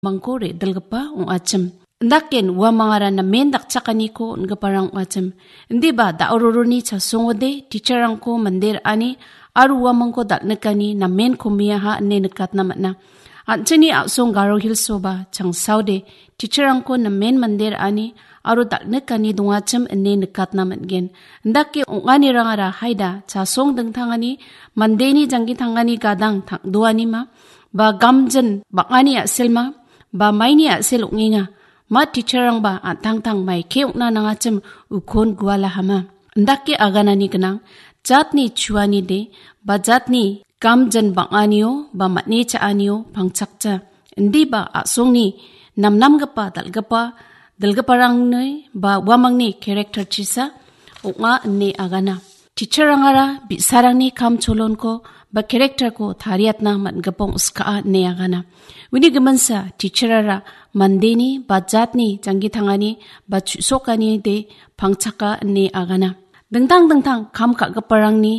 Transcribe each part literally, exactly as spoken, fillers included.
mangko re·dilgipa ong·achim. Indaken uamangara namen dakchakaniko on·giparang ong·achim. Indiba da·o roroni chasongode teacher-rangko mande ra·ani aro uamangko dal·nikani namen komiaha ine nikatna man·a. An·chingni a·song Garo Hills-oba changsaode teacher-rangko namen mande ra·ani aro dal·nikani dongachim ine nikatna man·gen. Indake ong·anirangara haida chasong dingtangani mandeni janggi tangani gadang tang·doanima ba gamjin bang·ani a·selma ba maini a·sel ong·enga. Ma teacher-rangba an·tangtang maike ong·na nangachim ukon gualahama. Indake aganani gnang, jatni chuanide ba jatni gamjin bang·anio ba man·e cha·anio pangchakja. Indiba a·songni namnamgipa dal·gipa dilgiparangni ba uamangni character-chisa ong·a ine agana. Teacher-rangara bi·sarangni kam cholonko ba character-ko tariatna man·gipa ong·skaa ine agana. Uni giminsa teacher-ara mandeni ba jatni janggi tangani ba chu·sokanide pangchaka ine agana. Dingtang dingtang kam ka·giparangni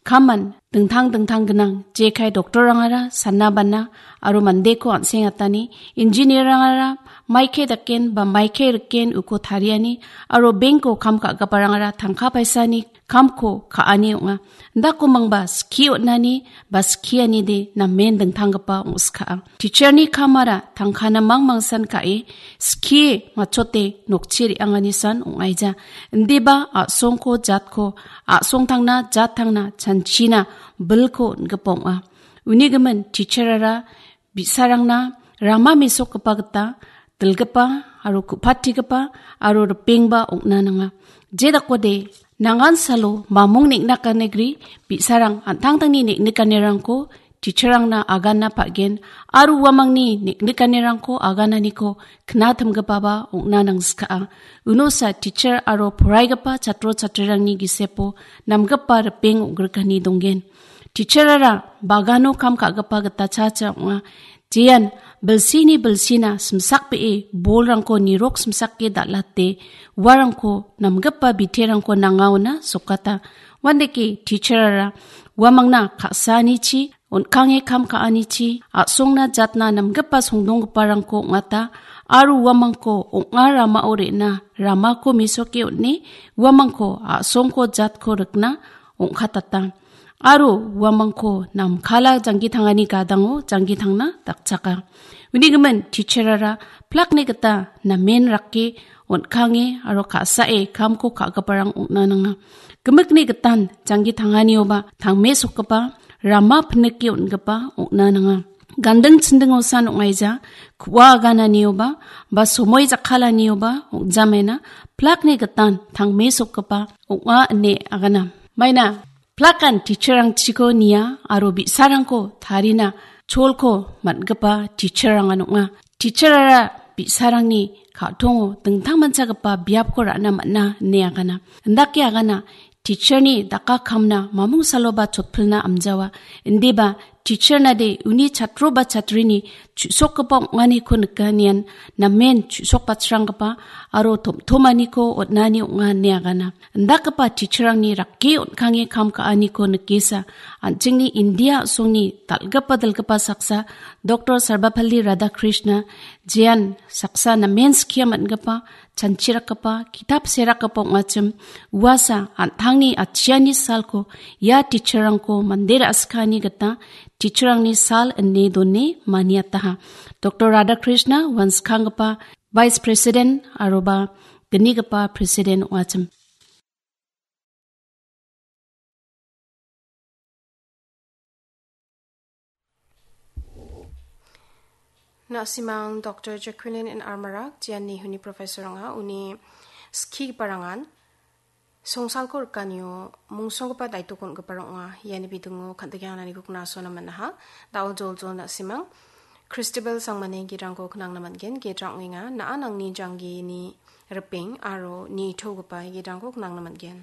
kaman dingtang dingtang gnang, jekai doctor-rangara sana bana aro mandeko an·sengatani, engineer-rangara maike daken ba maike riken uko tariani aro bank-o kam ka·giparangara tangka paisani kamko ka·ani ong·a. Indako mangba skie on·ani ba skianide namen dingtanggipa ong·skaa. Teacher-ni kamara tangkana mangmangsan ka·e skie matchote nokchi re·anganisan ong·aija. Indiba a·songko jatko, a·songtangna jattangna chanchina bilko on·gipa ong·a. Uni gimin teacher-ara bi·sarangna rama mesokgipa gita dilgipa aro ku·patigipa aro ripengba ong·na nanga. Jedakode nangan salo mamung neng·nakanegri bi·sarang an·tangtangni neng·nikanirangko teacher-rangna agana pa·gen aro uamangni neng·nikanirangko agananiko knatimgipaba ong·na nangskaa. Unosa teacher aro poraigipa chatro chatrirangni gisepo namgipa ripeng ong·grikani donggen. Teacher-ara bagano kam ka·gipa gita cha cha ong·a. Jean bilsini bilsina simsakbee bolrangko nirok simsake dal·ate uarangko namgipa biterangko nangaona sokata. Uandake teacher-ara uamangna ka·saanichi, on·kange kam ka·anichi, a·songna jatna namgipa songdonggiparangko ong·ata aro uamangko ong·a ramao re·na ramako mesoke on·e uamangko a·songko jatko rikna ong·katata. Aro uamangko namkala janggi tangani gadango janggi tangna dakchaka. Uni gimin teacher-ara plakni gita namen rake on·kange aro ka·sae kamko ka·giparang ong·na nanga. Gimikni gitan janggi tanganioba tangme sokgipa, rama pinike on·gipa ong·na nanga. Ganding chindingosan ong·aija, ku·a agananioba ba somoi jakkalanioba ong·jamaina plakni gitan tangme sokgipa ong·a ine agana. Maina plakan teacher-rangchiko nia aro bi·sarangko tarina cholko man·gipa teacher-rangan ong·a. Teacher-ara bi·sarangni ka·tongo dingtangmanchagipa biapko ra·na man·a ine agana. Indake agana teacher-ni daka kamna mamung saloba chotpilna amjawa. Indiba teacher-nade uni chatro ba chatrini chu·sokgipa ong·aniko nikanian namen chu·sokbachranggipa aro tomtomaniko on·ani ong·a ine agana. Indakgipa teacher-rangni rake on·kange kam ka·aniko nikesa, an·chingni India a·songni dal·gipa dilgipa saksa Doctor Sarvepalli Radhakrishna, jean saksa namen skia man·gipa, chanchirakgipa, kitap serakgipa ong·achim, uasa an·tangni atchiani salko ia teacher-rangko mande ra·skani gita teacher-rangni sal ine done maniataha. Doctor Radhakrishna uan skanggipa Vice President aroba gnigipa President ong·achim. Na·simang Doctor Jacqueline N. Armarak, jean Nehuni professor ong·a, uni skigiparangan songsalko rikanio mungsonggipa daitokon ong·giparang ong·a. Iani bidingo kan·tikengananiko knasona man·aha. Da·o joljol na·simang. Christabel Sangmani gidrangko knangna man·gen. Gidrang ong·enga. Na·a nangni janggini ripeng aro nitogipa gidrangko knangna man·gen.